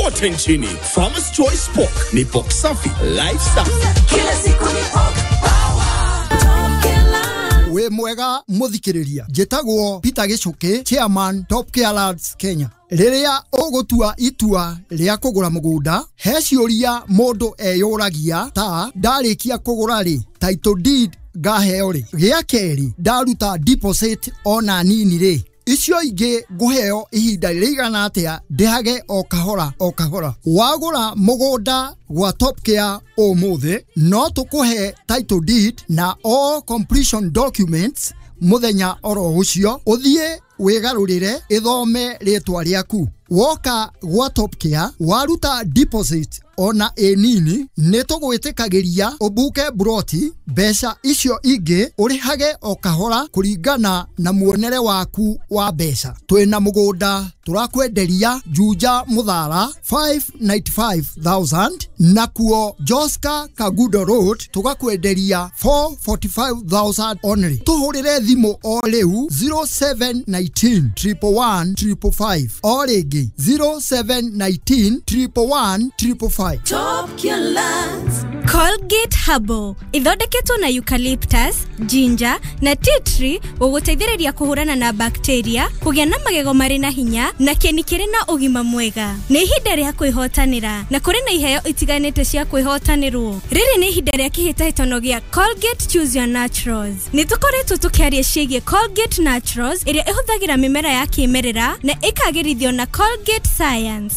kote nchini. Farmers Choice Pork ni pork safi, life safi. Kila siku ni pork power. Top Care Land. Wĩ mwega mũthikĩrĩria, njĩtagwo Peter Gĩchũkĩ, chairman Top Care Lands Kenya. Rĩrĩa ũgũtua itua rĩa kũgũra mũgũnda, he ciũria mũndũ eyũragia ta ndarĩkia kũgũra rĩ, title deed ngaheo rĩ, gĩa kerĩ ndaruta deposit ona nini rĩ, icio ingĩ ngũheo ihinda rĩigana atĩa ndĩhage o kahora o kahora. Wagũra mũgũnda gwa Top Care ũmũthĩ, no tũkũhe title deed na all completion documents mũthenya oro ũcio, ũthiĩ wĩgarũrĩre ĩthome rĩtwa rĩaku. Woka gwa Top Care waruta deposit ona ĩ nini, nĩ tũgwĩtĩkagĩria ũbuke buroti, mbeca icio ingĩ ũrĩhage o kahora kũringana na muonere waku wa mbeca. Twĩna mũgũnda tũrakwenderia Juja Mũthara 595,000, nakuo Joska Kagudo Road tũgakwenderia 445,000 only. Tũhũrĩre thimũ o rĩu 0719 111 555, o rĩngĩ 0719 111 555. Top Care Lands. Colgate Herbal ithondeketwo na eucalyptus, ginger na tea tree gũgũteithĩrĩria kũhũrana na bacteria, kũgĩa na magego marĩ na hinya na kĩni kĩrĩ na ũgima mwega. Nĩ ihinda rĩa kwĩhotanĩra na kũrĩ na iheo itiganĩte cia kwĩhotanĩrwo. Rĩrĩ nĩ ihinda rĩa kĩhĩtahĩtano gĩa Colgate Choose Your Naturals. Nĩ tũkoretwo tũkĩaria ciĩgiĩ Colgate Naturals ĩrĩa ĩhũthagĩra mĩmera ya kĩmerera na ĩkagĩrithio na Colgate Science.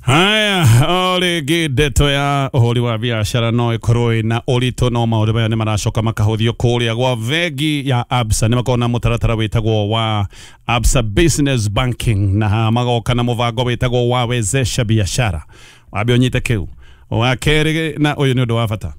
Haya, o rĩngĩ ndeto ya ũhũri wa biacara no ĩkorwo ĩna ũritũ, no maũndũ maya nĩ maracoka makahũthio kũrĩa gwa bengi ya Absa. Nĩ makoragwo na mũtaratara wĩtagwo wa Absa Business Banking, na magoka na mũbango wĩtagwo wa Wezesha Biashara. Wambe ũnyite kĩu. Wa kerĩ, na ũyũ nĩ ũndũ wa bata,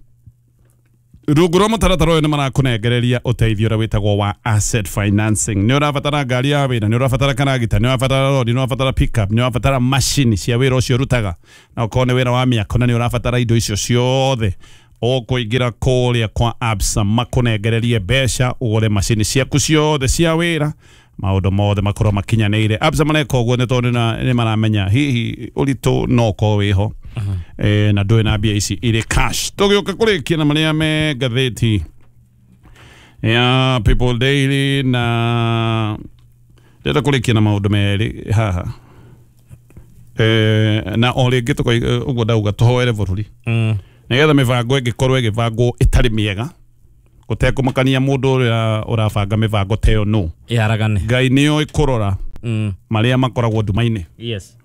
rungu rwa mũtaratara ũyũ nĩ marakũnengereria ũteithio ũrĩa wĩtagwo wa asset financing. Nĩ ũrabatara ngari ya wĩra, nĩ ũrabatara karagita, nĩ ũrabatara rori, nĩ ũrabatara pickup, nĩ ũrabatara macini cia wĩra ũcio ũrutaga, na ũkorwo nĩ wĩra wa mĩako na nĩ ũrabatara indo icio ciothe, ũkũingĩra kũrĩa kwa Absa makũnengererie mbeca ũgũre macini ciaku ciothe cia wĩra, maũndũ mothe makorwo makinyanĩire. Absa mareka ũguo nĩ tondũ nĩ maramenya hihi ũritũ no ũkorwo wĩho, na ndũrĩ na mbia ici irĩ cash. Tũgĩũka kũrĩkia na marĩa me ngathĩti ya People Daily, na ndĩrenda kũrĩkia na maũndũ merĩ haha, na o rĩngĩ ũguo ndauga tũhoere bũrũri nĩgetha mĩbango ĩngĩkorwo ĩgĩbangwo ĩtarĩ mĩega, gũtekũmakania mũndũ ũrĩa ũrabanga mĩbango ta ĩyo nũ, Ĩharagane. Ngai nĩoĩ kũrora marĩa makoragwo nduma-inĩ. Yes.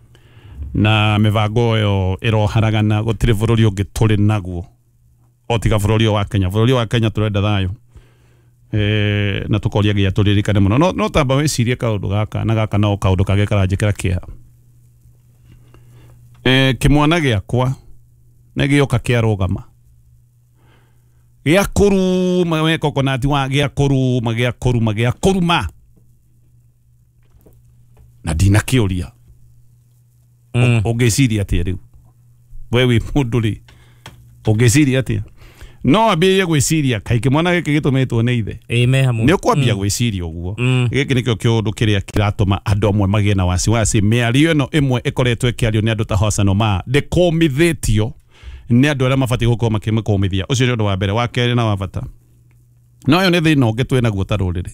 Na mĩbango ĩyo ĩroharagana, gũtirĩ bũrũri ũngĩ tũrĩ naguo o tiga bũrũri ũyũ wa Kenya. Bũrũri wa Kenya tũrenda thayũ, na tũkoria nginya tũririkane mũno. No tamba wĩcirie kaũndũ gaka na gaka no kaũndũ kangĩ karanjĩkĩra kĩeha. Kĩmwana gĩakwa nĩ gĩoka kĩarũgama gĩa kũruma, we coconut wa gĩa kũruma, gĩa kũruma, gĩa kũruma, na ndinakĩũria. Ũngĩciria atĩa rĩu we wĩ mũndũ rĩ, ũngĩciria atĩa? No ambĩrĩrie gwĩciria kaĩ kĩmwana gĩkĩ gĩtũmĩtwo nĩ ithe. Ĩĩ, me hamwe. Nĩ ũkwambia gwĩciria ũguo. Gĩkĩ nĩkĩo kĩũndũ kĩrĩa kĩratũma andũ amwe magĩe na wasiwasi. Mĩario ĩno ĩmwe ĩkoretwo ĩkĩario nĩ andũ ta Hassan Omar ndĩkũmithĩtio nĩ andũ arĩa mabatiĩ gũkorwo makĩmĩkũmithia. Ũcio nĩ ũndũ wa mbere. Wa kerĩ na wa bata, no ũyũ nĩ thĩna ũngĩ twĩ naguo ta rũrĩrĩ,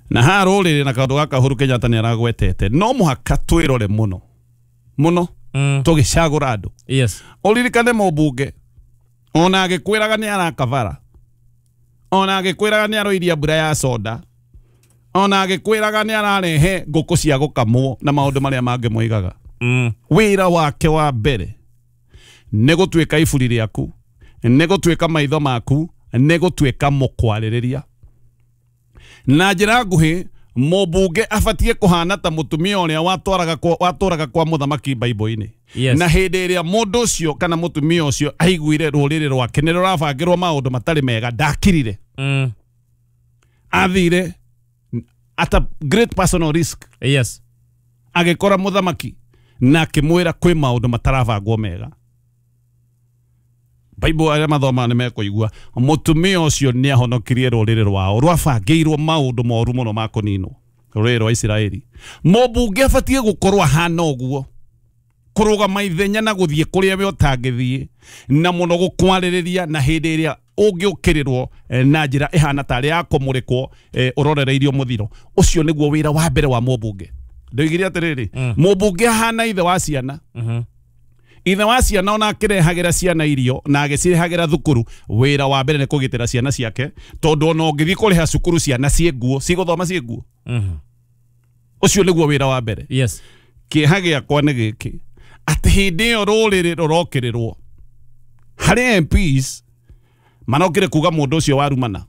na haha rũrĩrĩ na kaũndũ gaka Uhuru Kenyatta nĩ aragwetete, no mũhaka twĩrore mũno mũno tũgĩcagũra andũ. Yes. Ũririkane mũmbunge ona agĩkwĩraga nĩ arakabara, ona agĩkwĩraga nĩ aroiria mbura ya soda, ona agĩkwĩraga nĩ ararehe ngũkũ cia gũkamwo na maũndũ marĩa mangĩ moigaga. Wĩra wake wa mbere nĩ gũtuĩka iburi rĩaku, nĩ gũtuĩka maitho maku, nĩ gũtuĩka mũkwarĩrĩria. Na njĩra nguhĩ, mũmbunge abatiĩ kũhana ta mũtumia ũrĩa watũraga kwa mũthamaki Bible-inĩ. Yes. Na hĩndĩ ĩrĩa mũndũ ũcio kana mũtumia ũcio aiguire rũrĩrĩ rwake nĩ rũrabangĩrwo maũndũ matarĩ mega, ndakirire. Athire at a great personal risk. Yes. Agĩkora mũthamaki na akĩmwĩra kwĩ maũndũ matarabangwo mega. Bible arĩa mathomaga nĩ mekũigua mũtumia ũcio nĩ ahonokirie rũrĩrĩ rwao rwabangĩirwo maũndũ moru mũno ma kũninwo. Rũrĩrĩ rwa Isiraeli. Mũmbunge abatiĩ gũkorwo ahana ũguo, kũrũgama ithenya na gũthiĩ kũrĩa we ũtangĩthiĩ, na mũno gũkwarĩrĩria na hĩndĩ ĩrĩa ũngĩũkĩrĩrwo na njĩra ĩhana tarĩ ya kũmũrĩkwo ũrorereirio mũthiro. Ũcio nĩguo wĩra wa mbere wa mũmbunge. Ndoigire atĩrĩrĩ, mũmbunge ahana ithe wa ciana. Ithe wa ciana ona akĩrehagĩra ciana irio na agĩcirehagĩra thukuru, wĩra wa mbere nĩ kũgitĩra ciana ciake, tondũ ona ũngĩthiĩ kũrĩha cukuru ciana ciĩ nguo, cigũthoma ciĩ nguo. Ũcio nĩguo wĩra wa mbere. Yes. Kĩeha gĩakwa nĩ gĩkĩ, atĩ hĩndĩ ĩyo rũrĩrĩ rũrokĩrĩrwo harĩ MPs marokire kuga mũndũ ũcio warumana.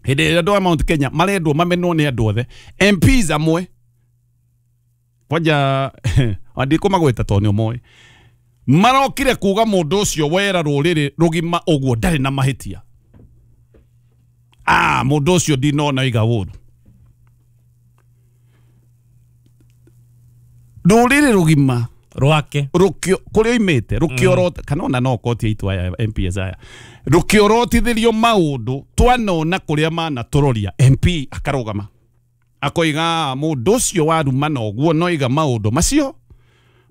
Hĩndĩ ĩrĩa andũ a Mount Kenya marendwo mamenwo nĩ andũ othe, MPs amwe kwanja andikũmagwĩta tondũ nĩ ũmoĩ, marokire kuga mũndũ ũcio wera rũrĩrĩ rũgima ũguo ndarĩ na mahĩtia. Mũndũ ũcio ndinona iga ũru. Rũrĩrĩ rũgima rwake rũkĩo kũrĩa oimĩte rũkĩorota, kana ona no koti itũ aya MPs aya rũkĩorotithĩrio maũndũ twanona kũrĩa manatũroria. MP akarũgama akoiga mũndũ ũcio warumana ũguo no iga maũndũ macio,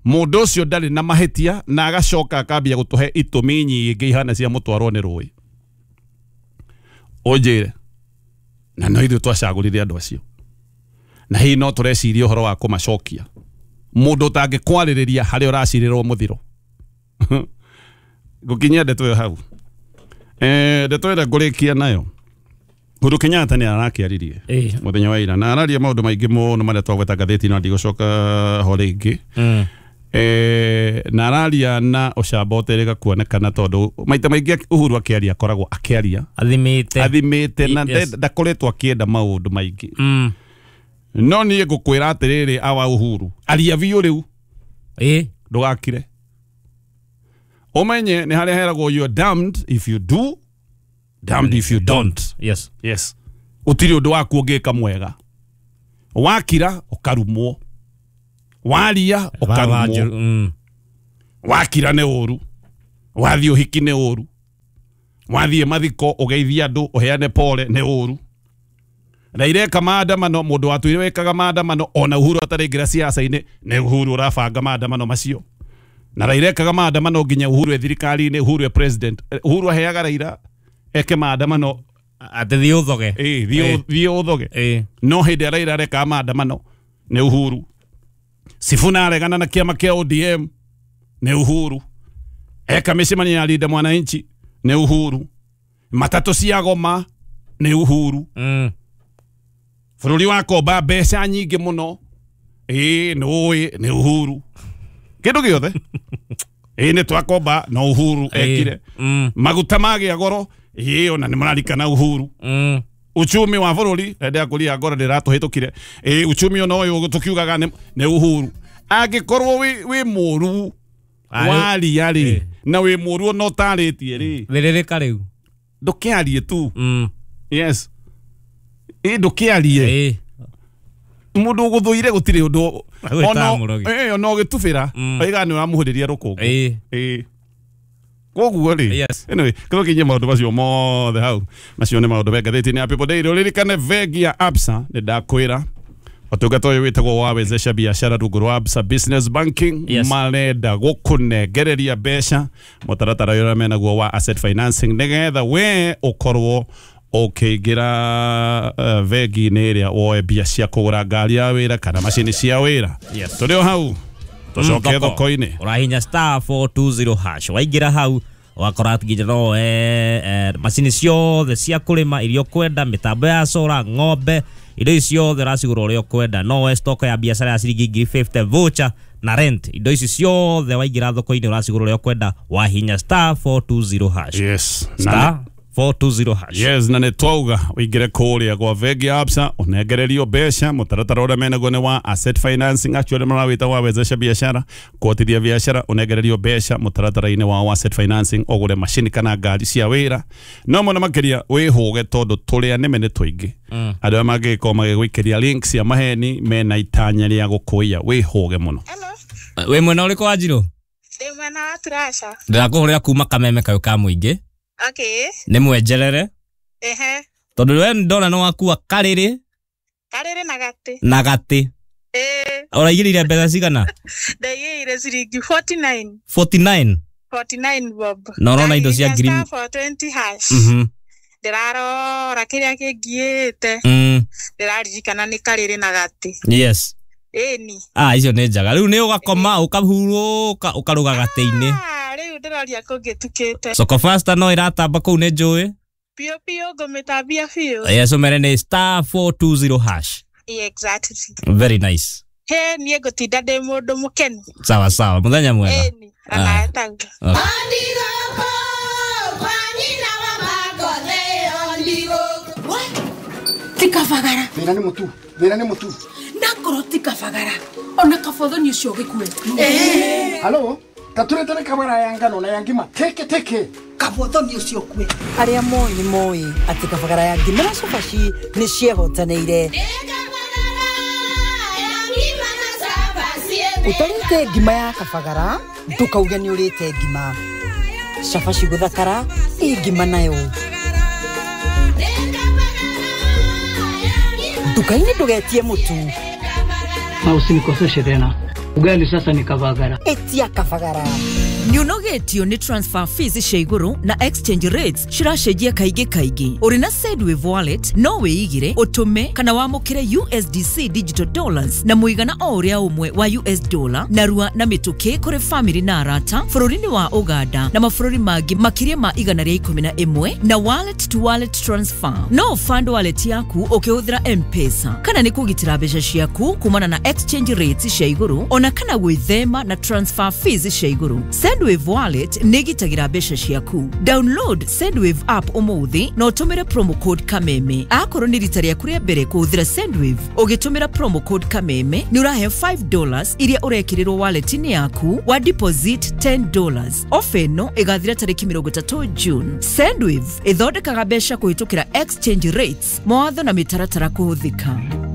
mũndũ ũcio ndarĩ na mahĩtia, na agacoka akambia gũtũhe itũmi nyingĩ ihana cia mũtwarwo nĩ rũĩ. Ũnjĩre, na no ithuĩ twacagũrire andũ acio, na hihi no tũreciria ũhoro wa kũmacokia. Mũndũ ũtangĩkwarĩrĩria harĩa ũracirĩrwo mũthiro. Ngũkinyia ndeto ĩyo hau. Ndeto ĩrĩa ngũrĩkia nayo, Uhuru Kenyatta nĩ arakĩaririe mũthenya wa ira, na araria maũndũ maingĩ mũno marĩa twagweta ngathĩti-inĩ na ndigũcoka ho rĩngĩ. Na araria na ũcamba ũterĩga kuonekana, tondũ maita maingĩ Uhuru akĩaria akoragwo akĩaria athimĩte na ndakoretwo akĩenda maũndũ maingĩ. No niĩ ngũkwĩra atĩrĩrĩ, awa Uhuru, aria biũ rĩu, ndũgakire. Ũmenye nĩ harĩa heragwo you are damned if you do, damned if you don't. Yes. Yes. Ũtirĩ ũndũ waku ũngĩka mwega. Wakira ũkarumwo, waria ũkarumwo, wakira nĩ ũru, wathiĩ ũhiki nĩ ũru, wathiĩ mathiko ũgeithie andũ ũheane pole nĩ ũru. Na ireka maandamano, mũndũ watũire wekaga maandamano ona Uhuru ataraingĩra siasa-inĩ, nĩ Uhuru ũrabanga maandamano macio. Na Raila ekaga maandamano nginya Uhuru e thirikari-inĩ, Uhuru e president. Uhuru aheaga Raila eke maandamano atĩ thiĩ ũthoge. Thiĩ ũthoge. No hĩndĩ ĩrĩa Raila arekaga maandamano nĩ Uhuru. Sifuna aregana na kĩama kĩa ODM nĩ Uhuru. Eka mĩcemanio ya Linda Mwananchi nĩ Uhuru. Matatũ cia goma nĩ Uhuru. Bũrũri wa komba mbeca nyingĩ mũno, nĩ nĩ Uhuru. Kĩndũ gĩothe nĩ twakomba no Uhuru ekire. Maguta magĩa goro, ona nĩ mũrarikana Uhuru. Uchumi wa bũrũri ndĩa kũria ngoro ndĩratũhĩtũkire. Uchumi ona ũyũ tũkiugaga nĩ Uhuru. Angĩkorwo wĩ mũru waria rĩ, na wĩ mũru ona ũtarĩtie rĩ, thĩrĩrĩka rĩu, ndũkĩarie tu. Yes. Ndũkĩarie. Mũndũ ũgũthũire gũtirĩ ũndũ ona ũgĩtubĩra oiga nĩ ũramũhũrĩria rũkũngũ. Koguo rĩ, anyway, kĩrokinyie maũndũ macio mothe hau. Macio nĩ maũndũ me ngathĩti-inĩ ya People Daily. Ũririkane bengi ya Absa, nĩ ndakwĩra ũtungata ũyũ wĩtagwo wa wezesha biashara rungu rwa Absa Business Banking. Marenda gũkũnengereria mbeca mũtaratara ũrĩa menaguo wa asset financing, nĩgetha we ũkorwo ũkĩingĩra bengi-inĩ ĩrĩa woe mbia cia kũgũra ngari ya wĩra kana macini cia wĩra. Tũrĩ o hau, tũcoke thoko-inĩ. Ũrahinya *420# waingĩra hau wakora nginya no macini ciothe cia kũrĩma iria ũkwenda, mĩtambo ya solar, ng'ombe, indo ici ciothe ũracigũra ũrĩa ũkwenda. No woe stock ya biacara ya ciringi 50,000, voucher na rent, indo ici ciothe waingĩra thoko-inĩ ũracigũra ũrĩa ũkwenda, wahinya *420#. Yes. *420#. Yes, na nĩ twauga ũingĩre kũrĩa gwa bengi ya Absa ũnengererio mbeca. Mũtaratara ũrĩa menaguo nĩ wa asset financing, actually marawĩta wa wezesha biashara, kuotithia biashara, ũnengererio mbeca mũtaratara-inĩ wa asset financing, ũgũre macini kana ngari cia wĩra. No mũno makĩria wĩhũge, tondũ tũrĩa nĩme nĩ tũingĩ. Andũ arĩa mangĩgĩkorwo magĩgũikĩria links cia maheni mena itanya rĩa gũkũiya, wĩhũge mũno. Wĩ mwena ũrĩkũ wa Njirũ? Ndĩ mwena wa Turasha. Ndĩrakũhũrĩra kuma Kameme kayũ ka mũingĩ. Okay. Nĩ mwenjerere. Ehe. Tondũ we ndona nĩ wakua karĩrĩ. Karĩrĩ na gatĩ. Na gatĩ. Ĩĩ. Ũraigĩrĩire mbeca cigana? Ndaigĩire ciringi 49. 49. 49 bob. Na ũrona indo cia ngiri 420 hash. Ndĩrarora kĩrĩa kĩngiĩte. Ndĩraririkana nĩ karĩrĩ na gatĩ. Yes. Ĩni. Ah, icio nĩ njega. Rĩu nĩ ũgakoma ũkahurũka ũkaruga gatĩ-inĩ. Ah, rĩu ndĩroria kũngĩtukĩte. Soko Fasta no ĩratamba kũu nĩ njũĩ. Biũ biũ ngũmĩtambia biũ. Yes, ũmere nĩ star 420 hash. Exactly. Very nice. He niĩ ngũtinda ndĩ mũndũ mũkenu. Sawa sawa, mũthenya mwega. Ĩni, onawe taguo. Tikabagara. Thĩna nĩ mũtu, thĩna nĩ mũtu. Nakorwo tikabagara. Ona kabothoni ũcio ũgĩkue. Halo, taturetere kabara ya ngano na ya ngima teke teke. Kabothoni ũcio ũkue. Arĩa moĩ nĩ moĩ atĩ kabagara ya ngima na cabaci nĩ ciehotanĩire. Ũtarĩte ngima ya kabagara ndũkauge nĩ ũrĩte ngima. Cabaci gũthakara ĩ ngima nayo. Nduka-inĩ ndũgetie mũtu. Na usinikoseshe tena. Ugali sasa ni kabagara. Etia kabagara. Nĩũnogetio nĩ transfer fees cia igũrũ na exchange rates ciracenjia kaingĩ kaingĩ. Ũrĩ na Sendwave wallet no wĩigĩre, ũtũme kana wamũkĩre USDC digital dollars na mũigana o ũrĩa ũmwe wa US dollar narua na mĩtũkĩ kũrĩ family na arata bũrũri-inĩ wa Uganda na mabũrũri mangĩ makĩria ma 111 na wallet to wallet transfer. No fund wallet yaku ũkĩhũthĩra M-Pesa kana nĩ kũgitĩra mbeca ciaku kumana na exchange rates cia igũrũ ona kana gwĩthema na transfer fees cia igũrũ. Sendwave wallet nĩ ĩgitagĩra mbeca ciaku. Download Sendwave app ũmũthĩ na ũtũmĩre promo code Kameme. Akorwo nĩ rita rĩaku rĩa mbere kũhũthĩra Sendwave, ũgĩtũmĩra promo code Kameme nĩ ũraheo $5 iria ũrekĩrĩrwo wallet-inĩ yaku wa deposit $10. Ofa ĩno ĩgathira tarĩki 30 June. Sendwave ĩthondekaga mbeca kũhĩtũkĩra exchange rates, mawatho na mĩtaratara kũhũthĩka.